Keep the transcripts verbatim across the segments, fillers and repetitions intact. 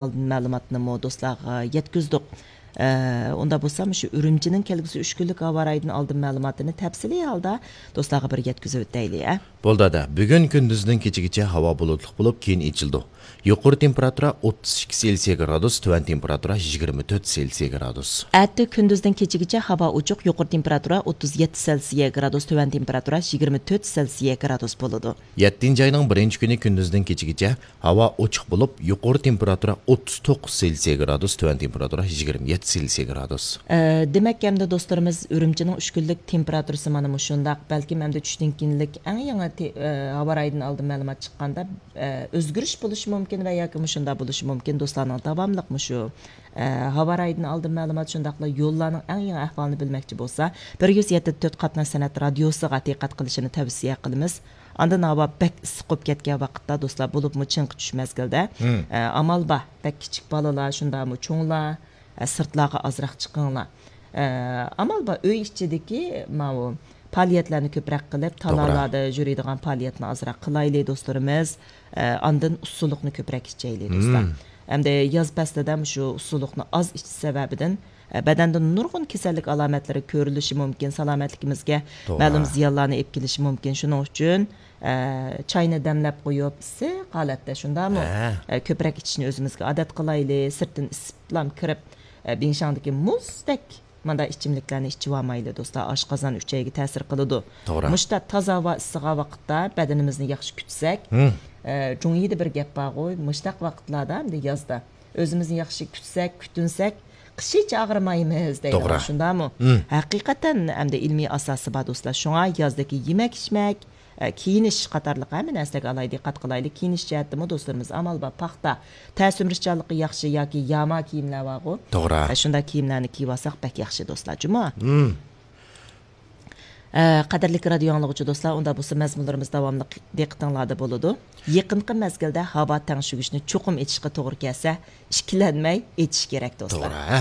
ئالدىن مەلۇماتنىمۇ دوستلارغا يەتكۈزدۇق. ئە، ئۇنداق بولسا، مۇشۇ ئۈرۈمچىنىڭ كەلگۈسى ئۈچ كۈنلۈك ھاۋا رايىدىن ئالدىن مەلۇماتىنى تەپسىلىي ھالدا دوستلارغا بىر يەتكۈزۈۋېتەيلى، ھە؟ بولدى، ئادا. بۈگۈن كۈندۈزدىن كېچىگىچە ھاۋا بۇلۇتلۇق بولۇپ، كېيىن ئېچىلىدۇ. يۇقىرى تېمپېراتۇرا ئوتتۇز ئىككى سېلسىيە گرادۇس، تۆۋەن تېمپېراتۇرا يىگىرمە تۆت سېلسىيە گرادۇس. ئەتە كۈندۈزدىن كېچىگىچە ھاۋا ئوچۇق، يۇقىرى تېمپېراتۇرا ئوتتۇز يەتتە سېلسىيە گرادۇس، تۆۋەن تېمپېراتۇرا يىگىرمە تۆت سېلسىيە گرادۇس بولىدۇ. يەتتىنچى ئاينىڭ بىرىنچى كۈنى كۈندۈزدىن كېچىگىچە ھاۋا ئوچۇق بولۇپ، يۇقىرى تېمپېراتۇرا ئوتتۇز توققۇز سېلسىيە گرادۇس، تۆۋەن تېمپېراتۇرا يىگىرمە يەتتە سېلسىيە گرادۇس. ئە، دېمەك، ئەمدى دوستلىرىمىز ئۈرۈمچىنىڭ ئۈچ كۈنلۈك تېمپېراتۇرىسى مانا مۇشۇنداق. بەلكىم ئەمدى چۈشتىن كېيىنلىك ئەڭ يېڭى تې-، ئە، ھاۋا رايىدىن ئالدىن مەلۇمات چىققاندا، ئە، ئۆزگىرىش بولۇشى مۇمكىن ۋە ياكى مۇشۇنداق بولۇشى مۇمكىن. دوستلارنىڭ داۋاملىق مۇشۇ، ئە، ھاۋا رايىدىن ئالدىن مەلۇمات، شۇنداقلا يوللارنىڭ ئەڭ يېڭى ئەھۋالىنى بىلمەكچى بولسا، بىر يۈز يەتتە تۆت قاتناش سەنئەت رادىيوسىغا دىققەت قىلىشىنى تەۋسىيە قىلىمىز. ئاندىن ھاۋا بەك ئىسسىق بولۇپ كەتكەن ۋاقىتتا، دوستلار، بولۇپمۇ چىڭقى چۈش مەزگىلدە، ئە، ئامال بار، بەك كىچىك بالىلار، شۇنداقمۇ چوڭلار، ئە، سىرتلارغا ئازراق چىقىڭلار. ئە، ئامال بار، ئۆي ئىچىدىكى ماۋۇ پائالىيەتلەرنى كۆپرەك قىلىپ، توغرا. تالالادا يۈرىدىغان پائالىيەتنى ئازراق قىلايلى، دوستلىرىمىز. ئە، ئاندىن ئۇسسۇلۇقنى كۆپرەك ئىچەيلى، دوستلار. مم. ئەمدى ياز پەسلىدە مۇشۇ ئۇسسۇلۇقنى ئاز ئىچىش سەۋەبىدىن، ئە، بەدەندە نۇرغۇن كېسەللىك ئالامەتلىرى كۆرۈلۈشى مۇمكىن، سالامەتلىكىمىزگە توغرا. مەلۇم زىيانلارنى ئېلىپ كېلىشى مۇمكىن. شۇنىڭ ئۈچۈن، ئە، چاينى دەملەپ قويۇپ، ئىسسىق ھالەتتە، شۇنداقمۇ؟ ھە. ئە، كۆپرەك ئىچىشنى ئۆزىمىزگە ئادەت قىلايلى، سىرتتىن ئىسسىقلام كىرىپ، ئە، بىڭشاڭدىكى مۇزدەك مانداق ئىچىملىكلەرنى ئىچىۋالمايلى، دوستلار، ئاشقازان، ئۈچەيگە تەسىر قىلىدۇ. توغرا. مۇشۇنداق تازا ھاۋا ئىسسىغان ۋاقىتتا بەدىنىمىزنى ياخشى كۈتسەك، ئە، جۇڭيىدا بىر گەپ بارغۇ، مۇشۇنداق ۋاقىتلاردا، ئەمدى يازدا ئۆزىمىزنى ياخشى كۈتسەك، كۈتۈنسەك، قىش ھېچ ئاغرىمايمىز دەيدىغان، توغرا. شۇنداقمۇ؟ ھەقىقەتەن ئەمدى ئىلمىي ئاساسى بار، دوستلار. شۇڭا يازدىكى يېمەك-ئىچمەك، ئە، كىيىنىش قاتارلىق ھەممە نەرسىلەرگە ئالاھىدە دىققەت قىلايلى. كىيىنىش جەھەتتىمۇ، دوستلىرىمىز، ئامال بار، پاختا، تەسىرلىنىشچانلىقى ياخشى ياكى ياما كىيىملەر بارغۇ. توغرا. ئە، شۇنداق كىيىملەرنى كىيىۋالساق بەك ياخشى، دوستلار. جۇمۇ. ئە، قەدىرلىك رادىيو ئاڭلىغۇچى دوستلار، ئۇنداق بولسا مەزمۇنلىرىمىز داۋاملىق دىققىتىڭلاردا بولىدۇ. يېقىنقى مەزگىلدە ھاۋا تەڭشىگۈچنى چوقۇم ئېچىشقا توغرا كەلسە، ئىككىلەنمەي ئېچىش كېرەك، دوستلار. توغرا، ھە.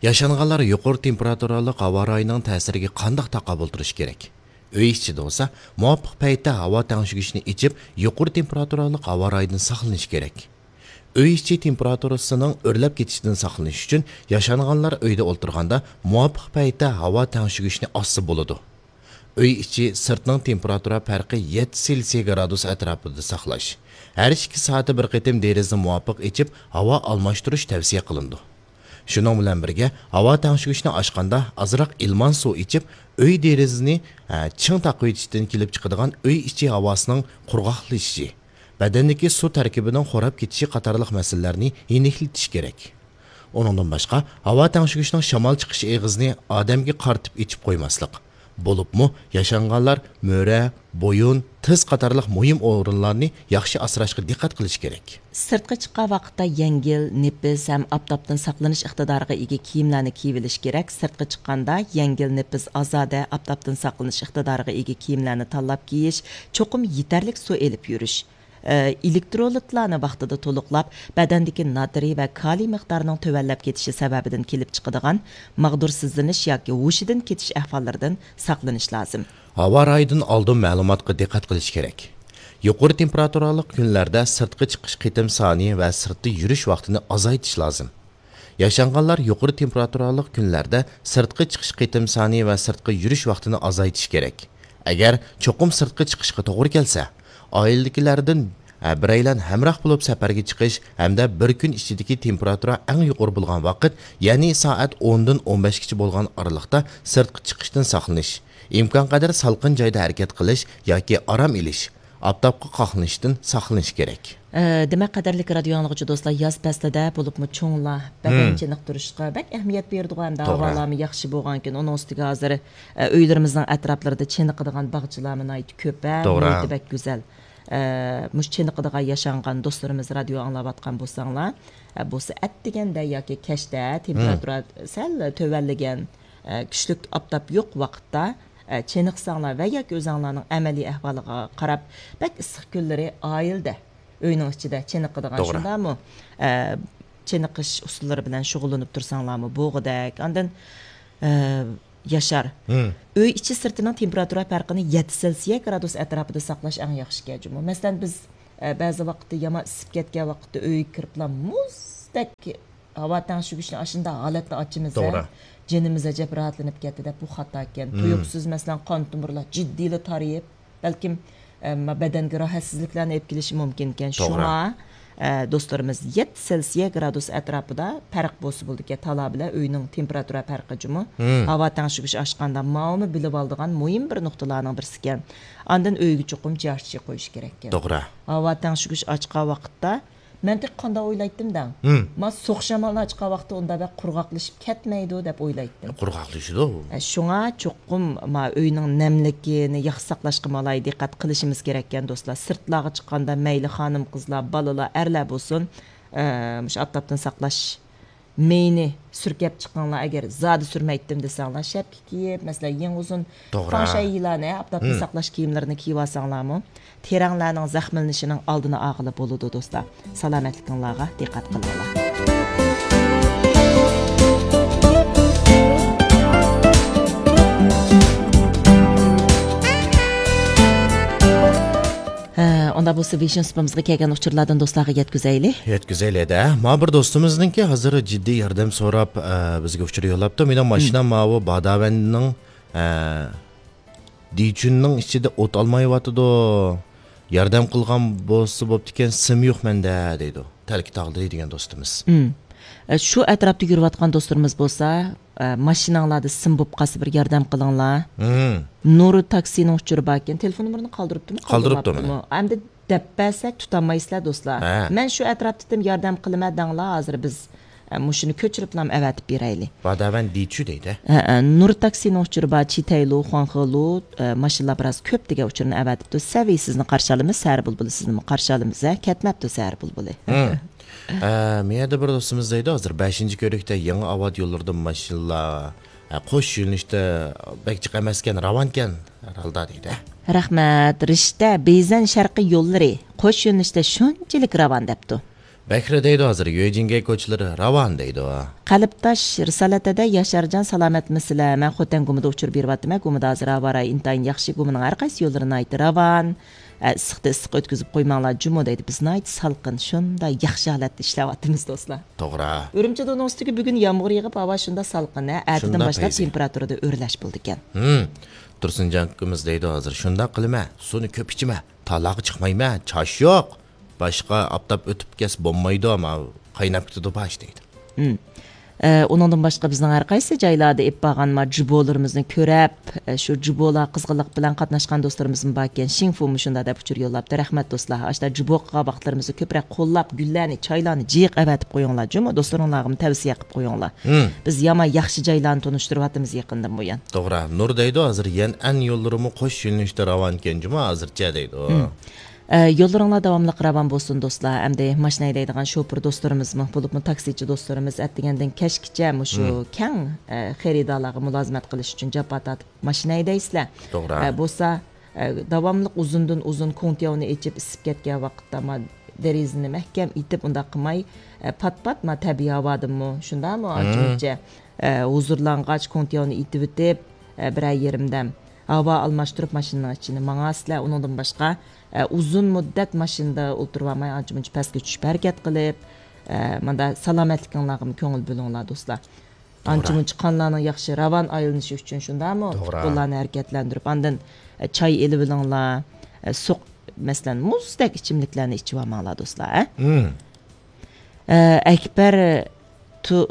ياشانغانلار يۇقىرى تېمپېراتۇرالىق ھاۋا رايىنىڭ تەسىرىگە قانداق تاقابىل تۇرۇش كېرەك؟ ئۆي ئىچىدە بولسا، مۇۋاپىق پەيتتە ھاۋا تەڭشىگۈچنى ئېچىپ، يۇقىرى تېمپېراتۇرالىق ھاۋا رايىدىن ساقلىنىش كېرەك. ئۆي ئىچى تېمپېراتۇرىسىنىڭ ئۆرلەپ كېتىشىدىن ساقلىنىش ئۈچۈن، ياشانغانلار ئۆيدە ئولتۇرغاندا مۇۋاپىق پەيتتە ھاۋا تەڭشىگۈچنى ئاچسا بولىدۇ. ئۆي ئىچى، سىرتنىڭ تېمپېراتۇرا پەرقى يەتتە سېلسىيە گرادۇس ئەتراپىدا ساقلاش. ھەر ئىككى سائەتتە بىر قېتىم دېرىزىنى مۇۋاپىق ئېچىپ، ھاۋا ئالماشتۇرۇش تەۋسىيە قىلىنىدۇ. شۇنىڭ بىلەن بىرگە، ھاۋا تەڭشىگۈچنى ئاچقاندا ئازراق ئىلمان سۇ ئىچىپ، ئۆي دېرىزىنى، ھە، چىڭ تاقىۋېتىشتىن كېلىپ چىقىدىغان ئۆي ئىچى ھاۋاسىنىڭ قۇرغاقلىشىشى، بەدەندىكى سۇ تەركىبىنىڭ خوراپ كېتىشى قاتارلىق مەسىلىلەرنى يېنىكلىتىش كېرەك. ئۇنىڭدىن باشقا، ھاۋا تەڭشىگۈچنىڭ شامال چىقىش ئېغىزىنى ئادەمگە قارىتىپ ئېچىپ قويماسلىق. بولۇپمۇ ياشانغانلار مۈرە، بويۇن، تىز قاتارلىق مۇھىم ئورۇنلارنى ياخشى ئاسراشقا دىققەت قىلىش كېرەك. سىرتقا چىققان ۋاقىتتا يەڭگىل، نېپىز ھەم ئاپتاپتىن ساقلىنىش ئىقتىدارىغا ئىگە كىيىملەرنى كىيىۋېلىش كېرەك. سىرتقا چىققاندا يەڭگىل، نېپىز، ئازادە، ئاپتاپتىن ساقلىنىش ئىقتىدارىغا ئىگە كىيىملەرنى تاللاپ كىيىش، چوقۇم يېتەرلىك سۇ ئېلىپ يۈرۈش. ئە، ئېلېكترولىتلارنى ۋاقتىدا تولۇقلاپ، بەدەندىكى ناترىي ۋە كالىي مىقدارىنىڭ تۆۋەنلەپ كېتىشى سەۋەبىدىن كېلىپ چىقىدىغان ماغدۇرسىزلىنىش ياكى ھوشىدىن كېتىش ئەھۋاللىرىدىن ساقلىنىش لازىم. ھاۋا رايىدىن ئالدىن مەلۇماتقا دىققەت قىلىش كېرەك. يۇقىرى تېمپېراتۇرالىق كۈنلەردە سىرتقا چىقىش قېتىم سانى ۋە سىرتتا يۈرۈش ۋاقتىنى ئازايتىش لازىم. ياشانغانلار يۇقىرى تېمپېراتۇرالىق كۈنلەردە سىرتقا چىقىش قېتىم سانى ۋە سىرتقا يۈرۈش ۋاقتىنى ئازايتىش كېرەك. ئەگەر چوقۇم سىرتقا چىقىشقا توغرا كەلسە، ئائىلىدىكىلەردىن، ئە، بىرەيلەن ھەمراھ بولۇپ سەپەرگە چىقىش ھەمدە بىر كۈن ئىچىدىكى تېمپېراتۇرا ئەڭ يۇقىرى بولغان ۋاقىت، يەنى سائەت ئوندىن ئون بەشكىچە بولغان ئارىلىقتا سىرتقا چىقىشتىن ساقلىنىش، ئىمكانقەدەر سالقىن جايدا ھەرىكەت قىلىش ياكى ئارام ئېلىش، ئاپتاپقا قاقلىنىشتىن ساقلىنىش كېرەك. ئە، دېمەك، قەدىرلىك رادىيو ئاڭلىغۇچى دوستلار، ياز پەسلىدە بولۇپمۇ چوڭلار بەدەن مم. چېنىقتۇرۇشقا بەك ئەھمىيەت بېرىدىغۇ ھەمدە توغرا. ھاۋالارمۇ ياخشى بولغانكەن، ئۇنىڭ ئۈستىگە ھازىر، ئە، ئۆيلىرىمىزنىڭ ئەتراپلىرىدا چېنىقىدىغان باغچىلارمۇ ناھايىتى كۆپ، ھە، توغرا. مۇھىتى بەك گۈزەل. ئە، مۇشۇ چېنىقىدىغان ياشانغان دوستلىرىمىز رادىيو ئاڭلاۋاتقان بولساڭلار، ئە، بولسا ئەتىگەندە ياكى كەچتە تېمپېراتۇرا مم. سەل تۆۋەنلىگەن، ئە، كۈچلۈك ئاپتاپ يوق ۋاقىتتا، ئە، چېنىقساڭلار ۋە ياكى ئۆزەڭلارنىڭ ئەمەلىي ئەھۋالىغا قاراپ، بەك ئىسسىق كۈنلىرى ئائىلىدە، ئۆينىڭ ئىچىدە چېنىقىدىغان توغرا. شۇنداقمۇ؟ ئە، چېنىقىش ئۇسۇللىرى بىلەن شۇغۇللىنىپ تۇرساڭلارمۇ بولغۇدەك. ئاندىن، ئە، ياشار. مم. ئۆي ئىچى سىرتىنىڭ تېمپېراتۇرا پەرقىنى يەتتە سېلسىيە گرادۇس ئەتراپىدا ساقلاش ئەڭ ياخشىكەن جۇمۇ. مەسىلەن، بىز، ئە، بەزى ۋاقىتتا يامان ئىسسىپ كەتكەن ۋاقىتتا ئۆيگە كىرىپلا مۇز مۇشتەك ھاۋا تەڭشىگۈچنى ئاشۇنداق ھالەتتە ئاچىمىز، توغرا، جېنىمىز ئەجەب راھەتلىنىپ كەتتى دەپ، بۇ خاتا ئىكەن. مم. تۇيۇقسىز، مەسىلەن، قان تومۇرلار جىددىيلا تارىيىپ، بەلكىم، ئە، بەدەنگە راھەتسىزلىكلەرنى ئېلىپ كېلىشى مۇمكىن ئىكەن. توغرا. شۇڭا، ئە، دوستلىرىمىز، يەتتە سېلسىيە گرادۇس ئەتراپىدا پەرق بولسا بولىدىكەن، تالا بىلەن ئۆينىڭ تېمپېراتۇرا پەرقى جۇمۇ. مم. ھاۋا تەڭشىگۈچ ئاچقاندا ماۋۇمۇ بىلىۋالىدىغان مۇھىم بىر نۇقتىلارنىڭ بىرسىكەن. ئاندىن ئۆيگە چوقۇم جىياھچى قويۇش كېرەككەن. توغرا. ھاۋا تەڭشىگۈچ ئاچقان ۋاقىتتا مەن تېخى قانداق ئويلايتتىم دەڭ؟ مم. ما سوغۇق شامالنى ئاچقان ۋاقىتتا ئۇنداق بەك قۇرغاقلىشىپ كەتمەيدۇ دەپ ئويلايتتىم. قۇرغاقلىشىدۇ. ئە، شۇڭا چوقۇم ما ئۆينىڭ نەملىكىنى ياخشى ساقلاشقا ئالاھىدە دىققەت قىلىشىمىز كېرەككەن دوستلار. سىرتلارغا چىققاندا مەيلى خانىم قىزلار، بالىلار، ئەرلەر بولسۇن، ئە، مۇشۇ ئاپتاپتىن ساقلاش مېيىنى سۈركەپ چىقىڭلار. ئەگەر زادى سۈرمەيتتىم دېسەڭلار، شەپكە كىيىپ، مەسىلەن، يېڭى ئۇزۇن، توغرا، فاڭشەيلارنى، ئاپتاپتىن، مم، ساقلاش كىيىملىرىنى كىيىۋالساڭلارمۇ، تېرەڭلەرنىڭ زەخىملىنىشىنىڭ ئالدىنى ئالغىلى بولىدۇ، دوستلار. سالامەتلىكىڭلارغا دىققەت قىلىڭلار. ھە، ئۇنداق بولسا، ۋىشنۇ سۇپىمىزغا كەلگەن ئۇچۇرلاردىن دوستلارغا يەتكۈزەيلى. يەتكۈزەيلى-دە. ما بىر دوستىمىزنىڭكى ھازىر جىددىي ياردەم سوراپ، ئە، بىزگە ئۇچۇر يوللاپتۇ. مېنىڭ ماشىنام، مم، ماۋۇ باداۋەننىڭ، ئە، دىچۈننىڭ ئىچىدە ئوت ئالمايۋاتىدۇ. ياردەم قىلغان بولسا بوپتىكەن، سىم يوق مەندە، دەيدۇ. تەلكە تاغلىدى دېگەن دوستىمىز. مم. ئە، شۇ ئەتراپتا يۈرۈۋاتقان دوستلىرىمىز بولسا، ئە، ماشىناڭلاردا سىم بوپ قالسا بىر ياردەم قىلىڭلار. مم. نۇر تاكسىنىڭ ئۇچۇرى باركەن. تېلېفون نومۇرىنى قالدۇرۇپتىمۇ؟ قالدۇرۇپتۇ. قالدۇرماپتىمۇ؟ ئەمدى دەپ بەرسەك تۇتالمايسىلەر دوستلار. ھە. مەن شۇ ئەتراپتىتىم ياردەم قىلىمەن دەڭلار، ھازىر بىز، ئە، مۇشۇنى كۆچۈرۈپلام ئەۋەتىپ بېرەيلى. باداۋەن دىچۈ دەيدۇ. ھە، ھە، نۇر تاكسىنىڭ ئۇچۇرى بار، چىتەيلۇ، خۇاڭخېلۇ، ئە، ماشىنىلار بىراز كۆپ دېگەن ئۇچۇرنى ئەۋەتىپتۇ. سەۋىي سىزنى قارشى ئالىمىز، سەھەر بۇلبۇلى سىزنىمۇ قارشى ئالىمىز، ھە، كەتمەپتۇ سەھەر بۇلبۇلى. ھە. ئە، مۇ يەردە بىر دوستىمىز دەيدۇ، ھازىر بەشىنچى كۆۋرۈكتە يېڭى ئاۋات يوللىرىدا ماشىنىلار، ئە، قوش يۆنىلىشتە بەك جىق ئەمەسكەن، راۋانكەن ھەر ھالدا دەيدۇ. رەھمەت، رىشتە، بېيزەن شەرقىي يوللىرى قوش يۆنىلىشتە شۇنچىلىك راۋان دەپتۇ. بەكرى دەيدۇ، ھازىر يۆجىنگەي كوچىلىرى راۋان دەيدۇ. قەلبداش رىسالەت دەدە، ياشارجان سالامەتمىسىلەر؟ مەن خوتەن گۇمىدا ئۇچۇر بېرىۋاتىمەن، گۇمىدا ھازىر ھاۋا رايى ئىنتايىن ياخشى، گۇمىنىڭ ھەر قايسى يوللىرى ناھايىتى راۋان. ئە، ئىسسىقتا ئىسسىق ئۆتكۈزۈپ قويماڭلار جۇمۇ دەيدۇ. بىز ناھايىتى سالقىن، شۇنداق ياخشى ھالەتتە ئىشلەۋاتىمىز دوستلار. توغرا. ئۈرۈمچىدە ئۇنىڭ ئۈستىگە بۈگۈن يامغۇر يېغىپ، ھاۋا شۇنداق سالقىن، ھە، ئەتىدىن شۇنداق باشلاپ پەيزى. تېمپېراتۇرىدا ئۆرلەش بولىدىكەن. ھىم. تۇرسۇنجان ئاكىمىز دەيدۇ، ھازىر شۇنداق قىلىمەن، سۇنى كۆپ ئىچىمەن، تالاغا چىقمايمەن، چاچ يوق. باشقا ئاپتاپ ئۆتۈپ كەتسە بولمايدۇ، ماۋۇ قايناپ كېتىدۇ باش دەيدۇ. ھىم. ئە، ئۇنىڭدىن باشقا بىزنىڭ ھەر قايسى جايلاردا ئېلىپ بارغان ما جۇبولىرىمىزنى كۆرەپ، ئە، شۇ جۇبولا قىزغىنلىق بىلەن قاتناشقان دوستلىرىمىزمۇ باركەن. شىڭفۇ مۇشۇنداق دەپ ئۇچۇر يوللاپتۇ. رەھمەت دوستلار. ئاشتا جۇبو قىلغان ۋاقىتلىرىمىزدا كۆپرەك قوللاپ، گۈللەرنى، چايلارنى جىق ئەۋەتىپ قويۇڭلار جۇمۇ. دوستلىرىڭلارغىمۇ تەۋسىيە قىلىپ قويۇڭلار. ھىم. بىز يامان ياخشى جايلارنى تونۇشتۇرۇۋاتىمىز يېقىندىن بۇيان. توغرا. نۇر دەيدۇ، ھازىر يەنئەن يوللىرىمۇ قوش يۆنىلىشتە راۋانكەن جۇمۇ ھازىرچە دەيدۇ. ھىم. ئە، يوللىرىڭلار داۋاملىق راۋان بولسۇن دوستلار. ئەمدى ماشىنا ھەيدەيدىغان شوپۇر دوستلىرىمىزمۇ، بولۇپمۇ تاكسىچى دوستلىرىمىز ئەتىگەندىن كەچكىچە مۇشۇ، مم، كەڭ، ئە، خېرىدارلارغا مۇلازىمەت قىلىش ئۈچۈن جاپا تارتىپ ماشىنا ھەيدەيسىلەر. توغرا. ئە، بولسا، ئە، داۋاملىق ئۇزۇندىن ئۇزۇن كوڭتياۋنى ئېچىپ ئىسسىپ كەتكەن ۋاقىتتا ما دېرىزىنى مەھكەم ئېتىپ ئۇنداق قىلماي، ئە، پات-پات ما تەبىئىي ھاۋادىنمۇ شۇنداقمۇ، مم، ئانچە-مۇنچە، ئە، ھۇزۇرلانغاچ كوڭتياۋنى ئېتىۋېتىپ، ئە، بىرەر يېرىمدەم ھاۋا ئالماشتۇرۇپ ماشىنىنىڭ ئىچىنى ماڭاسىلەر. ئۇنىڭدىن باشقا، ئە، ئۇزۇن مۇددەت ماشىنىدا ئولتۇرۇۋالماي، ئانچە-مۇنچە پەسكە چۈشۈپ ھەرىكەت قىلىپ، ئە، مۇندا سالامەتلىكىڭلارغىمۇ كۆڭۈل بۆلۈڭلار، دوستلار. توغرا. ئانچە-مۇنچە قانلارنىڭ ياخشى راۋان ئايلىنىشى ئۈچۈن شۇنداقمۇ؟ توغرا. پۇت-قوللارنى ھەرىكەتلەندۈرۈپ، ئاندىن، ئە، چاي ئېلىۋېلىڭلار، ئە، سۇ، مەسىلەن، مۇزدەك ئىچىملىكلەرنى ئىچىۋالماڭلار، دوستلار، ھە؟ مم. ئە، ئەكبەر تۇ-،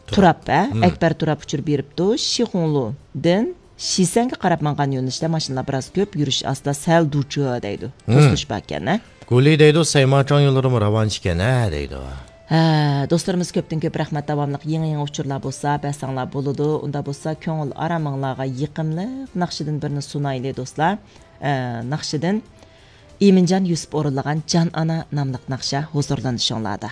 تۇراب. تۇراب، ھە؟ مم. ئەكبەر تۇراب ئۇچۇر بېرىپتۇ. شىخۇڭلۇدىن شىسەنگە قاراپ ماڭغان يۆنىلىشتە ماشىنىلار بىراز كۆپ، يۈرۈش ئاستا، سەل دۇچۇ دەيدۇ. مم. توسۇلۇش باركەن، ھە؟ گۇلى دەيدۇ، سەيماچاڭ يوللىرىمۇ راۋانچىكەن، ھە دەيدۇ. ھە، دوستلىرىمىز كۆپتىن كۆپ رەھمەت، داۋاملىق يېڭى-يېڭى ئۇچۇرلار بولسا بەرسەڭلار بولىدۇ. ئۇندا بولسا كۆڭۈل ئارامىڭلارغا يېقىملىق ناخشىدىن بىرنى سۇنايلى، دوستلار. ئە، ناخشىدىن ئىمىنجان يۈسۈپ ئورۇنلىغان جان ئانا ناملىق ناخشا ھۇزۇرلىنىشىڭلاردا.